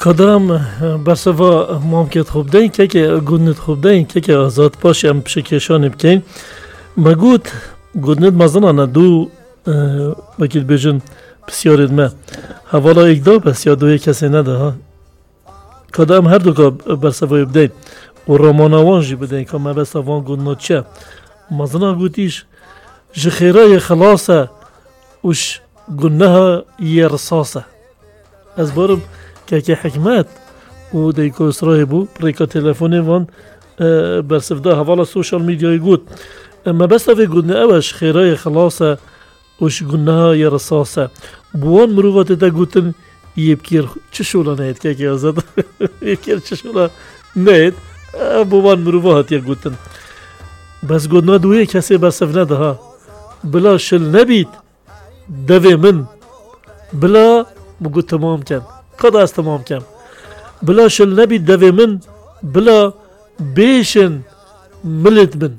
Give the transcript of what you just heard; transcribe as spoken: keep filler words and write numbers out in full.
Qedem berseva mamkêt xwe bideyî, kekê gundnit xwe bideyî, kekê Azad, paşê em pişekêşanê bikeyn. Me got, gundnit mezina ne du, e, wekî dibêjin, pisyarêd me. Hevala êk da bes ya duyê kesê nede ha. Ka da em her du ka berseva wê bideyî û ramana wan jî bideyî, ka mebesta van gundna çi ye. Mezina gotîş, ji xêra yê xilas e û ji guneha yê risas e. Ez barim kekê Hikmet û Deyko Îsraîl bû, rêka telefonê van, e, bersiv da, hevala sosyal medyayê got. E, mebesta vê gotine ew e, ji xêrayê xilas e û ji guneha yê risas e. Bi wan mirova tê te gotin, yê bi kêr çi şola neyêt, kekê Azad? Yê bi kêr çi şola neyêt? E, bi wan mirova hatiye gotin. Bes gotina duyê kesê bersiv nediha. Bila şil nebît, devê min, bila min got temam kem. Ka da ez temam kem. Bila şil nebî devê min, bila bêşin milêt min.